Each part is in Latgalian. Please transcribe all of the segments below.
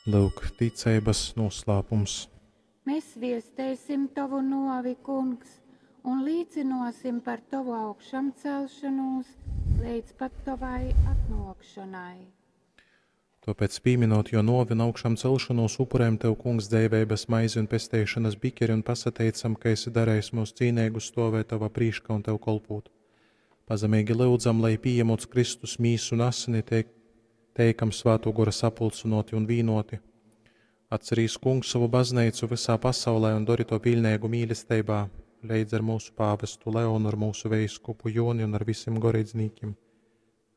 Lyuk, ticeibas nūslāpums. Mēs viesteisim tovu nuovi, Kungs, un līcynuosim par tovu augšamcelšonūs leidz pat tovai atnuokšonai. Tōpēc, pīmynūt Jō nōvi un augšamcelšonūs, upurejam Tev, Kungs, dzeiveibas maizi un pesteišonas bikeri un pasateicam, ka esi darejis myus cīneigus stōvēt Tovā prīškā un Tev kolpūt. Pazemeigi lyudzam, lai, pījamūt Kristus mīsu un asini, teik, teikam Svātō Gora sapulcynōti un vīnōti. Atcerīs, Kungs, sovu bazneicu vysā pasaulē un dori to piļneigu mīlesteibā, leidz ar mūsu pāvestu Leonu, ar mūsu veiskupu Joni un ar visim goreidznīkim.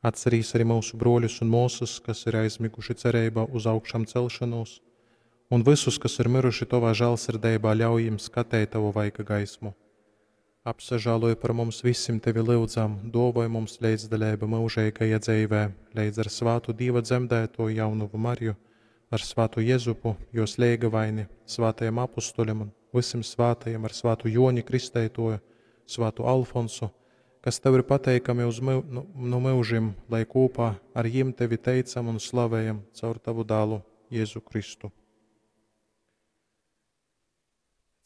Atcerīs arī mūsu brōļus un mōsas, kas ir aizmiguši cereibā uz augšām celšanos, un visus, kas ir miruši Tovā žālsirdeibā, ļauj jim skateit Tavu vaiga gaismu. Apsažāloj par mums visim Tevi lyudzam, dōvoj mums leidzdaleibu myužeigajā dzeivē, leidz ar svātu Dīva dzemdētoju jaunovu Mariju, ar svātu Jezupu, jos leigavaini, svātajam apustuļam un vysim svātajiem ar svātu Joni Kristeitoju, svātu Alfonsu, kas Tev ir pateikami uz myu, nu, nu myužim, lai kūpā ar jim Tevi teicam un slavējam caur Tavu dālu Jēzu Kristu.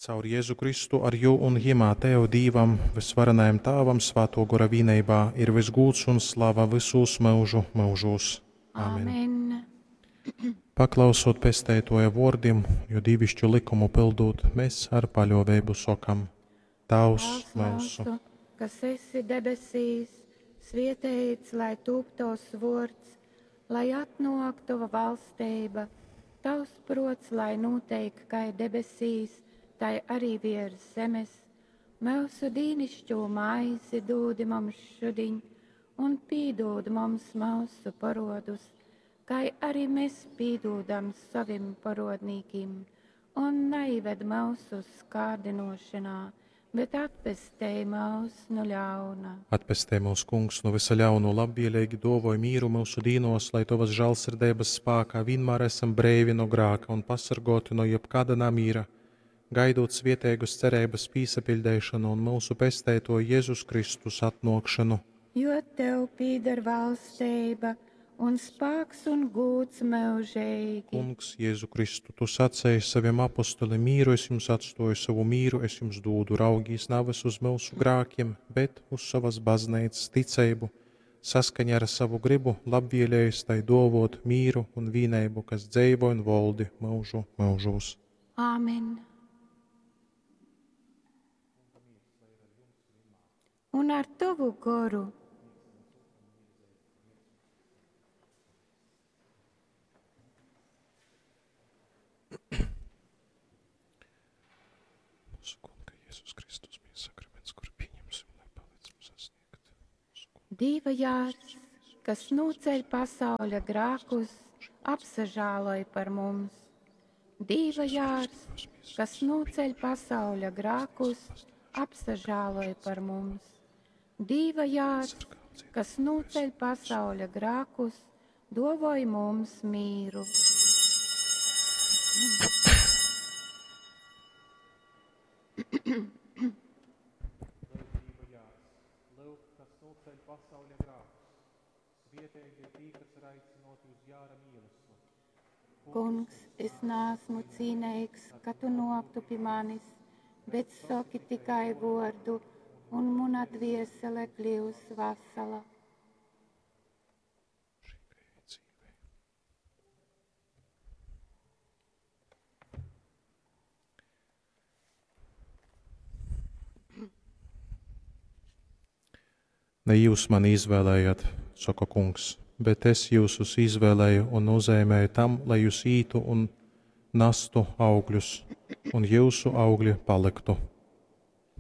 Caur Jēzu Kristu ar jū un jimā Tev, Dīvam, vysvarenajam Tāvam, Svātō Gora vīneibā ir vysgūds un slava vysūs myužu myužūs. Amen. Amen. Paklausot Pesteitoja vōrdim, jo dīvišķu likumu pildūt, mēs ar paļōveibu sokam: Tāvs Tēvs myusu, mūsu, kas esi debesīs, svietēts lai tūp tovs vōrds, lai atnāk tova valstība, tavs prots, lai notiek kai debesīs, tai arī virs zemes. Mūsu dīnišķo maizi dūdi mums šudiņ, un pīdūd mums mūsu parodus, kai arī mēs pīdūdam savim parodnīkim, un neived mūsu kārdinošanā, bet atpestej mūs no ļauna. Atpestej mūs, Kungs, no visa ļauno, labvēlīgi dovoj mīru mūsu dīnos, lai Tovas žālsirdības spākā vienmēr esam breivi no grāka un pasargoti no jebkāda namīra, gaidot svieteigus cerības pīsapiļdeišanu un mūsu pesteito Jēzus Kristus atnākšanu. Jo tev pīder valstība un spāks un gūds mūžīgi. Kungs, Jēzu Kristu, Tu sacēji saviem apostolim, mīru es jums atstoju, savu mīru es jums dūdu, raugīs navas uz mūsu grākiem, bet uz savas baznīcas ticību, saskaņā ar savu gribu labvēlējis tai dovot mīru un vīneibu, kas dzeivo un voldi mūžu mūžūs. Āmen. Un ar tavu goru. Mūsu Kunga Jēzus Kristus miesa sakraments, kuru pieņemsim, lai palīdz mums sasniegt. Mūsu Kunga Dieva jārs, kas noceļ pasauļa grākus, apsažāloj par mums. Dieva jārs, kas noceļ pasauļa grākus, apsažāloj par mums. Dieva jārs, kas noceļ pasauļa grākus, dovoj mums mīru. Lūk, kas noceļ pasauļa grākus. Svietīgi ir tī, kas ir aicināti uz Jāra mīlestību. Kungs, es neesmu cīnīgs, ka tu noktu pie manis, bet saki tikai vārdu, un mana dviesele kļūs vesela. Ne jūs mani izvēlējāt, saka kungs, bet es jūsus izvēlēju un nozīmēju tam, lai jūs ītu un nastu augļus, un jūsu augļi paliktu.